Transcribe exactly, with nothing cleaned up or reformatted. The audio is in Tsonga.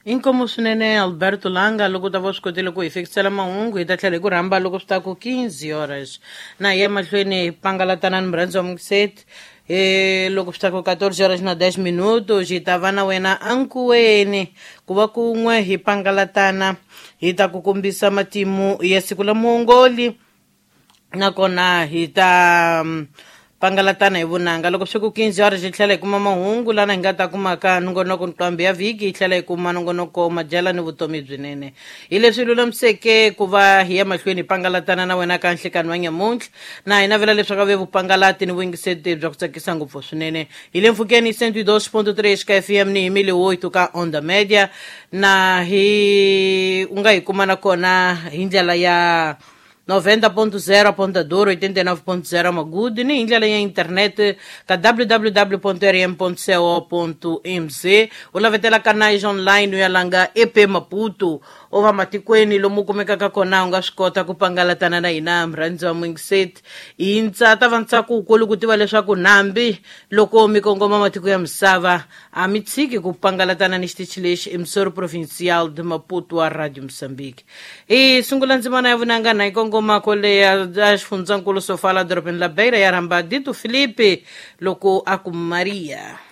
Inkomu swinene Alberto Langa loko u ta va u swi kotile ku hi fikisela mahungu hi ta tlhela hi ku rhamba loko swi ta ku quinze horas na hi ya mahlweni hi pangalatana ni murhandzi wa mukiseti e loko swi ta ku quatorze horas na dez minutos hi ta va na wena ankuweni ku va kun'we hi pangalatana hi ta ku kombisa matimu ya siku la muongoli nakona hi ta mm, pangalatana hi vunanga loko swi ku quinze horas hi tlhela hi kuma mahungu lana hi nga ta kumaka nongonoko nqambi ya vhiki hi tlhela hi kuma nongonoko madyela ni vutomi byinene hi leswi lulamiseke ku va hi ya mahlweni hi pangalatana na wena ka nhlekani wa nyamuntlha na hi navela leswaku ve vupangalati ni vuyingiseti bya ku tsakisa ngopfu swinene hi le mpfhukeni cento e dois ponto três ka F M ni hi mili oito ka Onda Media na hi u nga hi kuma nakona hi ndlela ya noventa ponto zero Ponta Duro, oitenta e nove ponto zero Magude, ni hi ndlela ya internet ka w w w ponto r m ponto co ponto m z u lavetela canais online u ya langa E P Maputo u va matikweni lomu u kumekaka kona u nga swi kota ku pangalatana na hina murhandzi wa muyingiseti hi ntsa ta va ntsako wukulu ku tiva leswaku nambi loko mi kongoma matiko ya misava a mi tshiki ku pangalatana ni xitichi lexi emissora provincial de Maputo wa Radio Moçambique. Hi sungula ndzimana ya vunanga na hi kongoma kwale ya ya xifundzankulu Sofala dorobeni la Beira ya rhamba Dito Filipe loko a ku Maria.